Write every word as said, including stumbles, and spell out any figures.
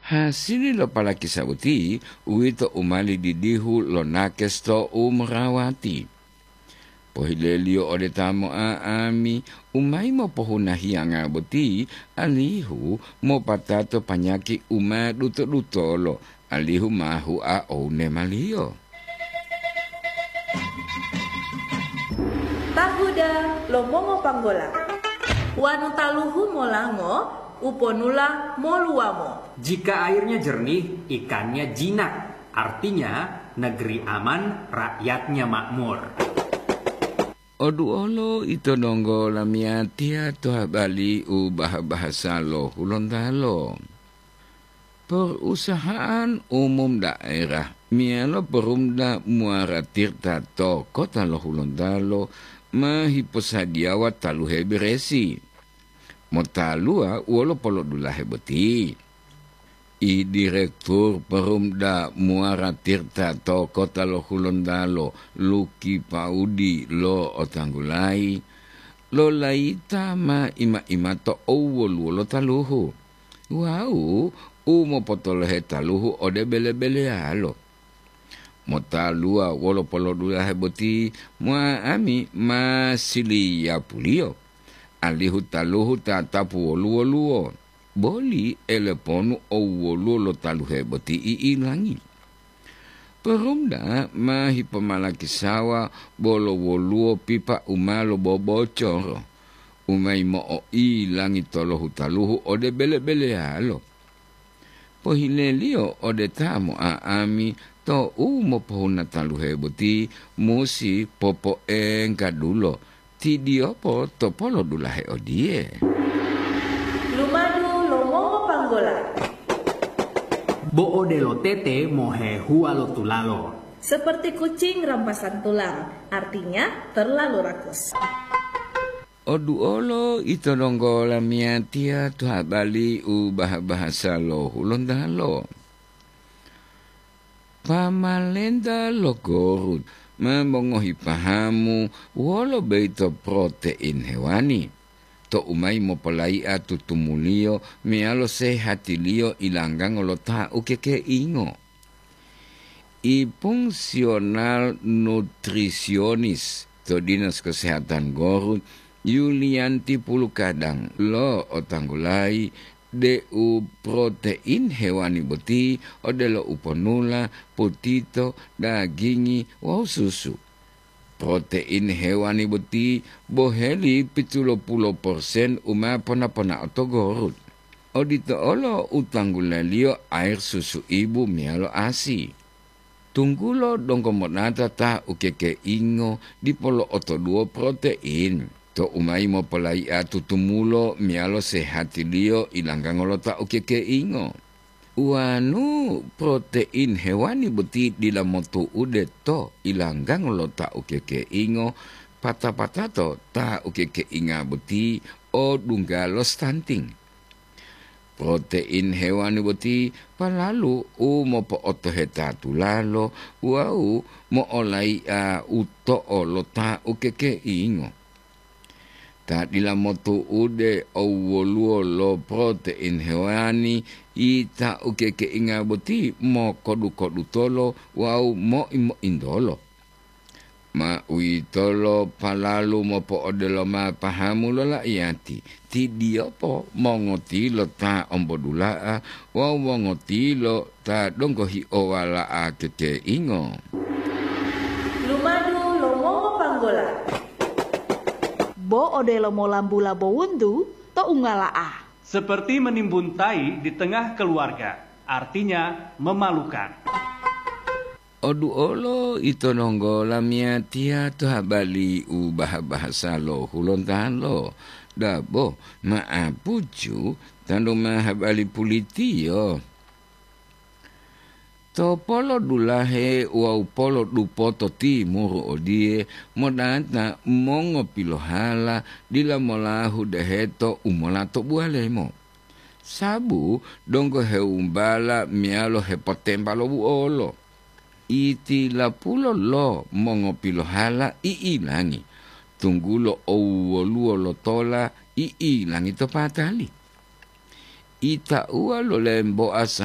Hasili lo palakisa boti, uwito u ma lididihu lo nakes to u morawati. Pohileliyo ode ta mo'a'ami, u mayi mopohuna hiyanga boti, alihu mopatato panyaki u ma duto-dutolo, alihu ma hua oune maliyo. Tahuda lo mongopanggola. Wanu taluhu molango, uponula moluwamo. Jika airnya jernih, ikannya jinak. Artinya, negeri aman, rakyatnya makmur. Oduolo ito donggo lamiyatiya to habali u bah-bahasa lo Hulontalo. Perusahaan umum daerah meyalo Perumda Muara Tirta to kota lo Hulontalo ma hiposadiyawa taluhe beresi. Motaluwa wolo polodulahe boti. I Direktur Perumda Muara Tirta to kota lo Hulontalo, Luki Paudi lo otanggulayi, lolayita ma ima-ima to owoluwo lo taluhu, wawu u mopotolohe taluhu ode bele-beleyalo. Motaluwa wolo polodulahe boti, mo'a'ami ma siliyapuliyo, alihu taluhu tatapu woluwo-luwo, boli eleponu owoluwo lo taluhe boti i'ilangi. Perumda ma hipomalakisawa bolo woluwo pipa u ma lobobocoro, u ma yimo'o'ilangi tolohu taluhu ode bele-beleyalo. Pohileliyo ode ta mo'a'ami to u mopohuna taluhe boti musi popoenggadulo, tidiyopo to polodulahe odiye. Lumadu lo mongopanggola. Bo odelo tete mohehuwa lo tulalo. Seperti kucing rampasan tulang, artinya terlalu rakus. Oduolo ito donggo lamiyatiya to habali u bah-bahasa lo Hulontalo. Pamalenta lo Gorut ma mongohi pahamu wolo boyito protein hewani, to u mayi mopolai'a tutumuliyo meyalo sehatiliyo ilanggango lo ta ukekeingo. I fungsional nutrisionis to Dinas Kesehatan Gorut, Yulianti Pulukadang lo otanggulayi deu protein hewani boti odelo uponula, potito, dagingi wawu susu. Protein hewani boti boheli pitulo pulo persen u ma pona-ponao to Gorut. Odito olo u tanggulaliyo air susu ibu meyalo asi. Tunggulo donggo monata ta ukekeingo dipo lo'otoduwo protein, to u mayi mopolai'a tutumulo meyalo sehatiliyo ilanggango lo ta ukekeingo. Uwanu protein hewani boti dila motu'ude to ilanggango lo ta ukekeingo, pata-patato ta ukekeinga boti o dungga lo stunting. Protein hewani boti palalu u mopo'otoheta tulalo wawu mo'olai'a uto'o lo ta ukekeingo. Ta dila motu'ude owwoluwo lo protein hewani, ta ukekeinga boti mokodu-kodutolo wawu moi-mointolo. Ma uwitolo palalu mopo'odelo ma pahamu lo la'iyati, tidiyopo mongotilo ta ombodula'a wawu mongotilo ta donggo hi'owala'a kekeingo. Lumadu lo mongopanggola. Bo odelo molambula bowuntu to ungala'a. Seperti menimbun tai di tengah keluarga, artinya memalukan. Oduolo ito nonggo lamiyatiya to habali u baha-bahasa lo Hulontalo. Dabo, ma'apucu, tantu ma habali pulitiyo. To polodulahe wawu polodupoto timuru odiye, modata mongopilohala dila molahu deheto u molato buwalemo. Sabu donggo hewumbala meyalo hepotemba lo buolo. Itilapulo lo mongopilohala i'ilangi, tunggulo owwoluwo lo tola i'ilangi to patali. Itauwa lo lemboa